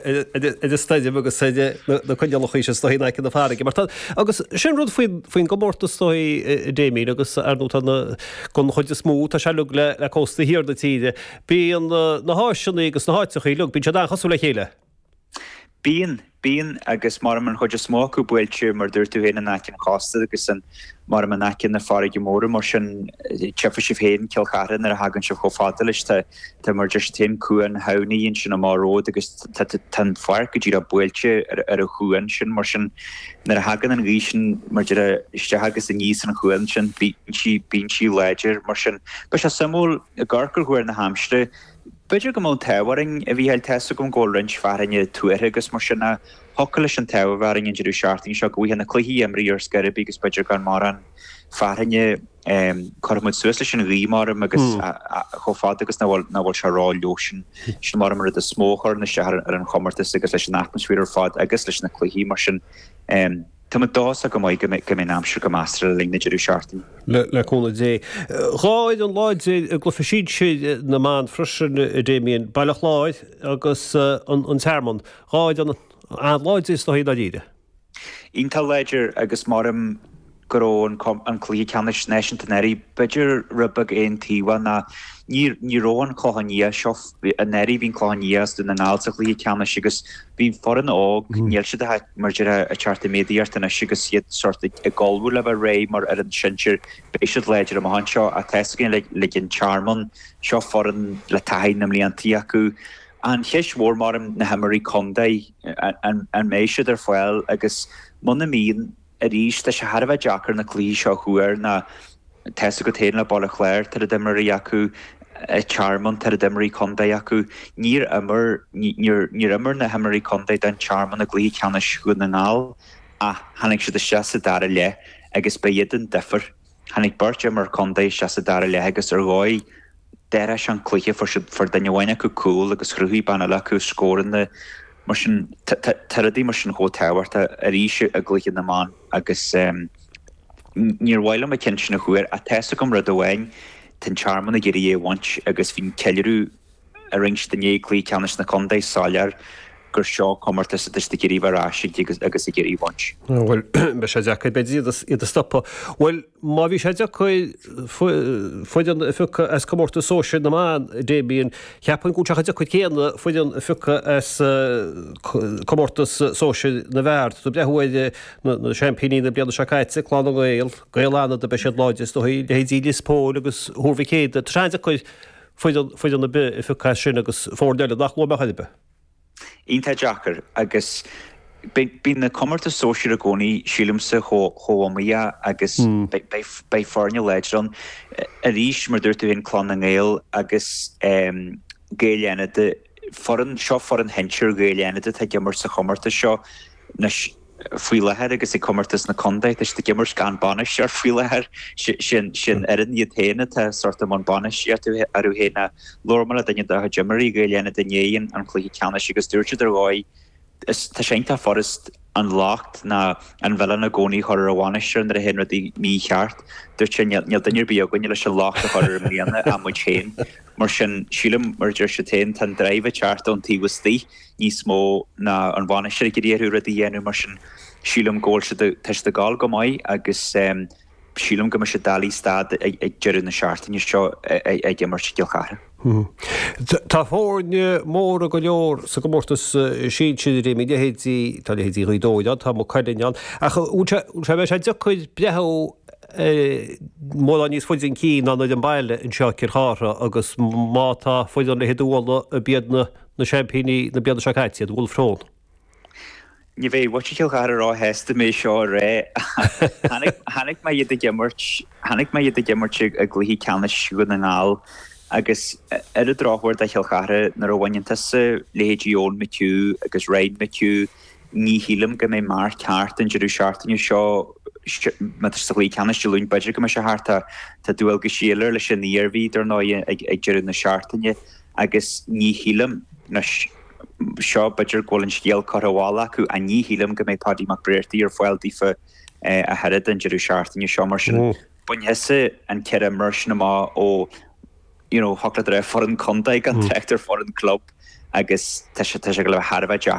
Ar an stoirm agus ar na coinníollacha is dóichí in aice na farraige. Mar tá, agus sin rud faoin faoin gcomórtas is dóichí, a Damien, agus ar ndóigh tá na, don chuid is mó, tá sé uilig le le cósta thiar na tíre. Bíonn na háiseanna agus na háiteacha uilig, bíonn siad an-chosúil le chéile. Bíonn, bíonn, agus maram an chuid is mó acu buailte, mar dúirt tú féin, in aice an chósta agus an, maram in aice na farraige móire, mar sin, tchífidh sibh féin Cill Chartha nuair a thagann sibh chomh fada leis, tá, tá mar deir siad féin, Cuan Thamhnaigh ansin amach romhat agus tá, tá, tá an pháirc go díreach buailte ar, ar an chuan sin, mar sin, nuair a thagann an ghaoth sin, mar deir, isteach agus aníos an chuan sin, bíonn sí, bíonn sí láidir, mar sin. Beidh sé suimiúil, ag amharc ar thuar na haimsire, B'fhéidir go mbeadh an t-ádh orainn, a Mhícheáil, tá's agam go bhfuil roinnt fearthainne tuartha agus mar sin ach thiocfadh leis an t-ádh a bheith orainn an deireadh seachtaine seo go bhfaighfeá na cluichí imrithe ar scor ar bith agus b'fhéidir gan mórán fearthainne. Cuirfidh muid suas leis an ghaoth maram agus chomh fada agus nach bhfuil nach bhfuil sé ró-fhliuch sin maram an rud is mó a chuireann isteach ar an chomórtas agus leis an atmaisféar ar fad agus leis na cluichí mar sin. Tá muid dóchasach go maith go mbeidh an aimsir go measartha le linn na deireadh seachtaine. Le cúnamh Dé. 2 fhoireann láidir i gcluiche sinsir na mban freisin, a Damien, Baile Chláir agus an Tearmann. 2 fhoireann an-láidir is dóigh i ndáiríre. Iontach láidir agus maram go raibh an cluiche ceannais náisiúnta anuraidh b'fhéidir rud beag aontaobhach ná ní ní raibh an Clochán Liath seo anuraidh bhí an Clochán Liath as Dún na nGall sa chluiche ceannais agus bhí foireann óg níl siad ach mar déarfá ag teacht i méadaíocht anois agus iad sórt ag ullmhú le bheith réidh mar fhoireann sinsir beidh siad láidir amach anseo ach tá's againn le le an Tearmann seo foireann le taithí na mbliantaí acu. An cheist mhór maram na himreoirí contae an an mbeidh siad ar fáil agus muna mbíonn Arís, tá sé thar a bheith deacair na cluichí seo a thuar ná tá's agat féin le Baile Chláir, tá oiread imreoirí acu, an Tearmann, tá oiread imreoirí contae acu. Níor imir, níor, níor imir na himreoirí contae don Tearmann i gcluiche ceannais Dhún na nGall ach tháinig siad isteach sa dara leath agus ba iad an difear. Tháinig beirt imreoir contae isteach sa dara leath agus ar dhóigh d'athraigh sé an cluiche, fuair siad, fuair duine amháin acu cúl agus chruthaigh bean eile acu scóranna. Mar sin, tá rudaí mar sin chomh tábhachtach arís i gcluiche na mban agus níor mhaith liom an ceann sin a thuar ach tá's agam rud amháin, tá an Tearmann ag iarraidh é a bhaint agus bhí an ceiliúradh a rinne siad inné i gcluiche ceannais na contae soiléir gur seo comórtas atá siad ag iarraidh a bheith ar ais aige agus ag iarraidh a bhaint. Bhuel, beidh sé deacair b'fhéidir iad a stopadh. Bhuel, má bhí sé deacair foireann a phiocadh as comórtas sóisir na mban, Damien, cheapfainn go bhfuil sé chomh deacair céanna foireann a phiocadh as comórtas sóisir na bhfear. Tá tú ag breathnú ar na seaimpíní na bliana seo caite, Clann na nGael, Gaeil Fhánada, beidh siad láidir is dóigh, leithéidí Lios Póil agus Thuar Mhic Éadaigh. Tá sé an-deacair foireann ar bith a phiocadh as sin agus foirne eile nach luaigh mé chor ar bith. Iontach deacair agus bíonn na comórtais sóisir i gcónaí, sílimse, chomh iomaíoch agus beidh foirne láidre ann. Arís, mar a dúirt tú féin, Clann na nGael agus Gaeil Fhánada, foireann, seo foireann shinsir Ghaeil Fhánada atá ag imirt sa chomórtas seo anois. faoi láthair agus ag comórtas na contae. Tá siad ag imirt gan bainisteoir faoi láthair. Sin fhoireann iad féin atá sórt i mbun bainistíochta orthu féin. Labhair mé le duine dá chuid imreoirí Ghaeil Fhánada i ndiaidh an chluiche ceannais agus dúirt siad ar dhóigh tá sé iontach furast an locht ná an mhilleán i gcónaí a chur ar an bhainisteoir nuair a théann rudaí mícheart. Dúirt sé níl duine ar bith againne leis an locht a chur air i mbliana ach muid féin. Mar sin, sílim, mar a deir siad féin, tá an drive ag teacht ón taobh istigh. níos mó ná an bhainisteoir ag iarraidh orthu rudaí a dhéanamh mar sin sílim go bhfuil siad, tá siad ag gabháil go maith agus sílim go mbeidh siad dálaí stad ag deireadh na seachtaine seo ag imirt i gCill Chartha. Tá foirne móra go leor sa gcomórtas sinsir a Réamaí, leithéidí, tá leithéidí Ghaoth Dobhair ann, tá Maigh Cuilinn ann, ach bhfuil sé, bhfuil sé, bheadh sé deacair breathnú mórán níos faide chun cinn ná an fhoireann baile anseo i gCill Chartha agus má tá foireann leithéid Uladh a b'iad na na seaimpíní na bliana seo caite, iad Bhulf Tón. Ní bheidh muintir Chill Chartha róshásta mé seo a rá. Chonaic mé iad ag imirt, chonaic mé iad ag imirt i gcluiche ceannais Dhún na nGall agus ar an drochuair do Chill Chartha, nuair a bhaineann tusa leithéidí Eoin McHugh agus Ryan McHugh, ní shílim go mbeidh Mark thart an deireadh seachtaine seo. Má tá sé sa chluiche ceannais Dé Luain, b'fhéidir go mbeidh sé thart. Tá dualgaisí eile air leis an Iarmhí, dar ndóigh, ag deireadh na seachtaine. Agus ní shílim, anois, seo, b'fhéidir go bhfuil an scéal curtha abhaile acu, ach ní shílim go mbeidh Paddy Mac Bréartaigh ar fáil daofa ach oiread an deireadh seachtaine seo. Mar sin, bain thusa an 14 imreoir sin amach ó, you know, thiocfadh leat a rá foireann contae gan trácht ar foireann club. Agus tá sé tá sé ag dul a bheith thar a bheith deacair.